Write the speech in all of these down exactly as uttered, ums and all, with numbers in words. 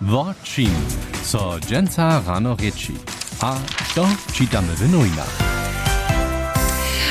Wo čim so dźensa rano rěči, a to čitamy w nowinach.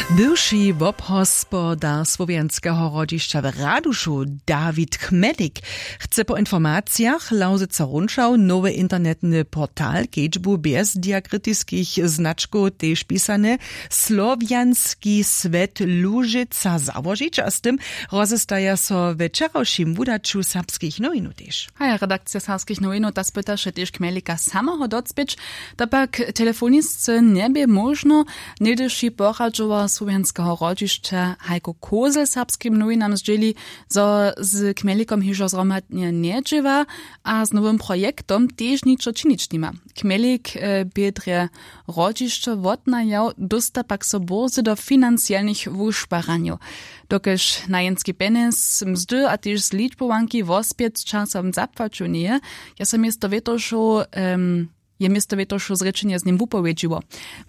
Bywši wobhospodar słowjanskeho hrodźišća w Radušu, Dawid Chmelik, chce po informacijach Lauzyca Runšał nowy internetny portal kedźbu bjez diakritiskich značkow, tež pisane Słowjanski swjet Łužica, załožić, a z tym rozestaja so we wčerawšim wudaću Serbskich nowinow tež. Haja, redakcija Serbskich nowinow ta spytaše tež Chmelika sameho docpěć. To pak telefonisce njebě móžno. Něhdyši poradźowar słowjanskeho hrodźišća Heiko Kozel serbskim nowinam zdźěli, zo z Chmelikom hižo zhromadnje njedźěła a z nowym projektom tež ničo činić nima. Chmelik, e, bě drje hrodźišćo wotnajał, dósta pak so bórze do financielnych wušparanjow. Dokelž najenski pjenjez, mzdy a tež zličbowanki wospjet z časom zapłaćow njeje, je so město wětošow, em, je město wětošow zrěčenje z nim wupowědźiło.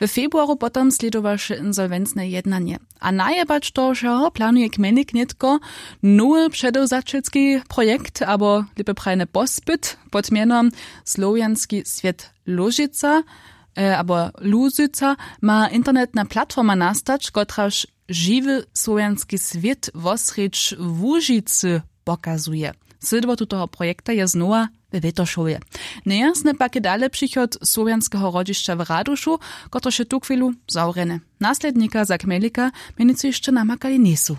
W februaru potom slědowaše insolwencne jednanje. A najebać to wšeho planuje Chmelik nětko nowy předewzaćelski projekt abo lěpje prajene pospyt pod mjenom Słowjanski swjet Łužica, e, abo Łužica, ma internetna platforma nastać, kotraž žiwy słowjanski swět wosrjedź Łužicy pokazuje. Slědwotu toho projekta je znowa we Wětošowje. Njejasne pak je dale přichod słowjanskeho hrodźišća w Radušu, kotrež je tuchwilu zawrjene. Naslednika za Chmelika mjenujcy hišće namakali njejsu.